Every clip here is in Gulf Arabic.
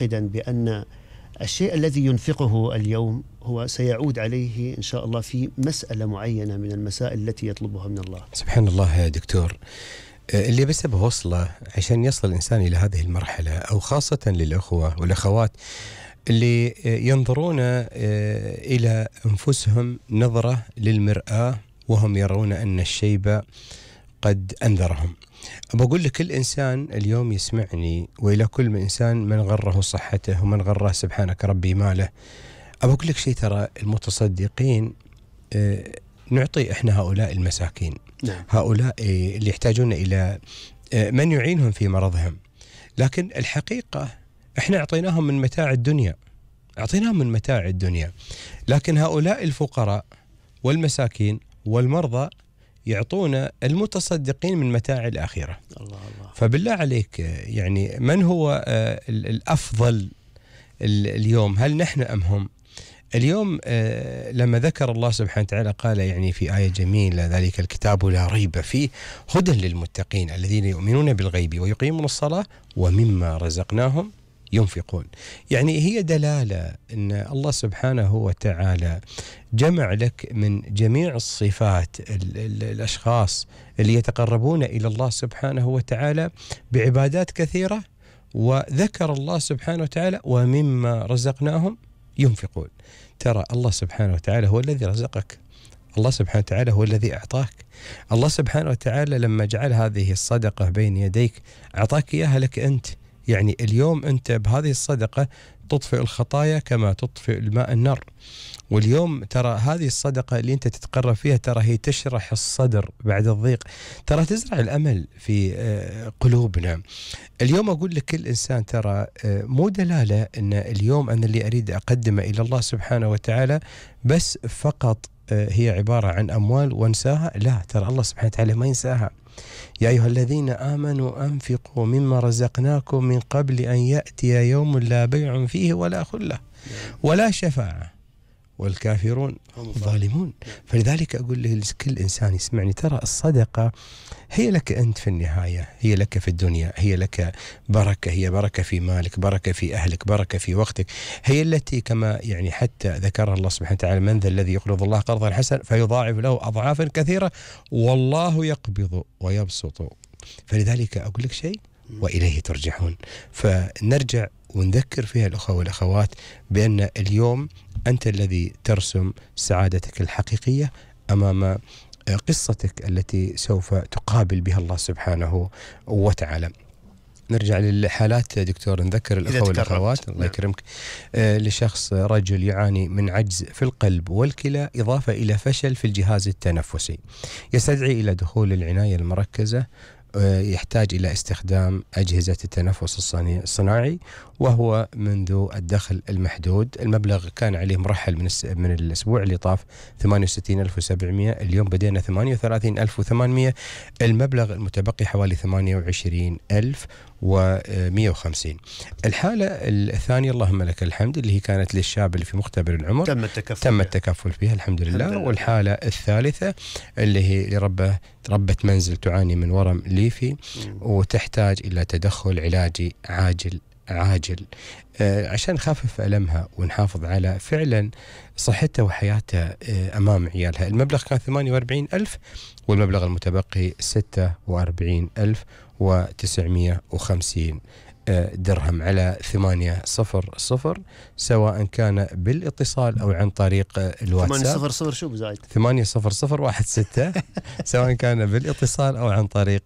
معتقدا بأن الشيء الذي ينفقه اليوم هو سيعود عليه إن شاء الله في مسألة معينة من المسائل التي يطلبها من الله. سبحان الله يا دكتور. اللي بس بوصله عشان يصل الإنسان إلى هذه المرحلة، أو خاصة للأخوة والأخوات اللي ينظرون إلى أنفسهم نظرة للمرآة وهم يرون أن الشيب قد أنذرهم. بقول لكل إنسان اليوم يسمعني، وإلى كل إنسان من غره صحته ومن غره سبحانك ربي ماله، أقول لك شيء، ترى المتصدقين نعطي إحنا هؤلاء المساكين، نعم. هؤلاء اللي يحتاجون إلى من يعينهم في مرضهم، لكن الحقيقة إحنا أعطيناهم من متاع الدنيا، أعطيناهم من متاع الدنيا، لكن هؤلاء الفقراء والمساكين والمرضى يعطون المتصدقين من متاع الآخرة. الله الله. فبالله عليك يعني من هو الأفضل اليوم، هل نحن أم هم؟ اليوم لما ذكر الله سبحانه وتعالى قال يعني في آية جميلة: ذلك الكتاب لا ريب فيه هدى للمتقين الذين يؤمنون بالغيب ويقيمون الصلاة ومما رزقناهم ينفقون. يعني هي دلالة أن الله سبحانه وتعالى جمع لك من جميع الصفات الأشخاص اللي يتقربون إلى الله سبحانه وتعالى بعبادات كثيرة، وذكر الله سبحانه وتعالى ومما رزقناهم ينفقون. ترى الله سبحانه وتعالى هو الذي رزقك، الله سبحانه وتعالى هو الذي أعطاك، الله سبحانه وتعالى لما جعل هذه الصدقة بين يديك أعطاك إياها لك أنت. يعني اليوم أنت بهذه الصدقة تطفئ الخطايا كما تطفئ الماء النار. واليوم ترى هذه الصدقة اللي أنت تتقرب فيها ترى هي تشرح الصدر بعد الضيق، ترى تزرع الأمل في قلوبنا. اليوم أقول لكل إنسان ترى مو دلالة أن اليوم أنا اللي أريد أقدمه إلى الله سبحانه وتعالى بس فقط هي عبارة عن أموال وانساها، لا، ترى الله سبحانه وتعالى ما ينساها. يا أيها الذين آمنوا أنفقوا مما رزقناكم من قبل أن يأتي يوم لا بيع فيه ولا خلة ولا شفاعة والكافرون ظالمون. فلذلك أقول لكل إنسان يسمعني، ترى الصدقة هي لك أنت في النهاية، هي لك في الدنيا، هي لك بركة، هي بركة في مالك، بركة في أهلك، بركة في وقتك، هي التي كما يعني حتى ذكرها الله سبحانه وتعالى: من ذا الذي يقرض الله قرضا حسنا فيضاعف له أضعافا كثيرة والله يقبض ويبسط. فلذلك أقول لك شيء وإليه ترجعون. فنرجع ونذكر فيها الأخوة والأخوات بأن اليوم أنت الذي ترسم سعادتك الحقيقية أمام قصتك التي سوف تقابل بها الله سبحانه وتعالى. نرجع للحالات دكتور، نذكر الأخوة والأخوات الله يكرمك. لشخص رجل يعاني من عجز في القلب والكلى إضافة إلى فشل في الجهاز التنفسي، يستدعي إلى دخول العناية المركزة، يحتاج إلى استخدام أجهزة التنفس الصناعي، وهو منذ الدخل المحدود. المبلغ كان عليه مرحل من الأسبوع اللي طاف 68,700، اليوم بدينا 38,800، المبلغ المتبقي حوالي 28,150. الحالة الثانية اللهم لك الحمد اللي هي كانت للشاب اللي في مختبر العمر، تم التكفل فيها الحمد لله. والحالة الثالثة اللي هي ربة منزل تعاني من ورم ليفي وتحتاج إلى تدخل علاجي عاجل عشان نخفف ألمها ونحافظ على فعلا صحتها وحياتها أمام عيالها. المبلغ كان 48,000 والمبلغ المتبقي 46,950 درهم على 800 سواء كان بالاتصال أو عن طريق الواتساب. 800 شو بزايد 80016 سواء كان بالاتصال أو عن طريق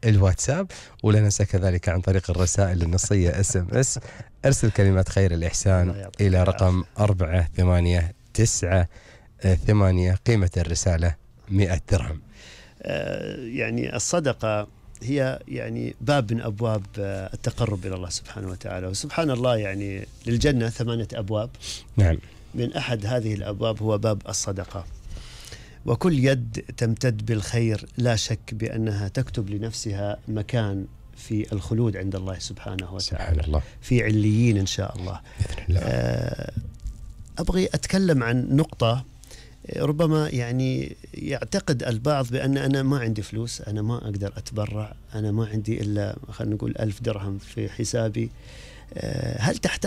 الواتساب. ولا ننسى كذلك عن طريق الرسائل النصية SMS. أرسل كلمات خير الإحسان إلى رقم 48998، قيمة الرسالة 100 درهم. يعني الصدقة هي يعني باب من أبواب التقرب إلى الله سبحانه وتعالى. وسبحان الله يعني للجنة 8 أبواب. نعم. من أحد هذه الأبواب هو باب الصدقة، وكل يد تمتد بالخير لا شك بأنها تكتب لنفسها مكان في الخلود عند الله سبحانه وتعالى، الله. في عليين إن شاء الله. أبغي أتكلم عن نقطة ربما يعني يعتقد البعض بأن أنا ما عندي فلوس، أنا ما أقدر أتبرع، أنا ما عندي إلا خلينا نقول 1000 درهم في حسابي. هل تحتاج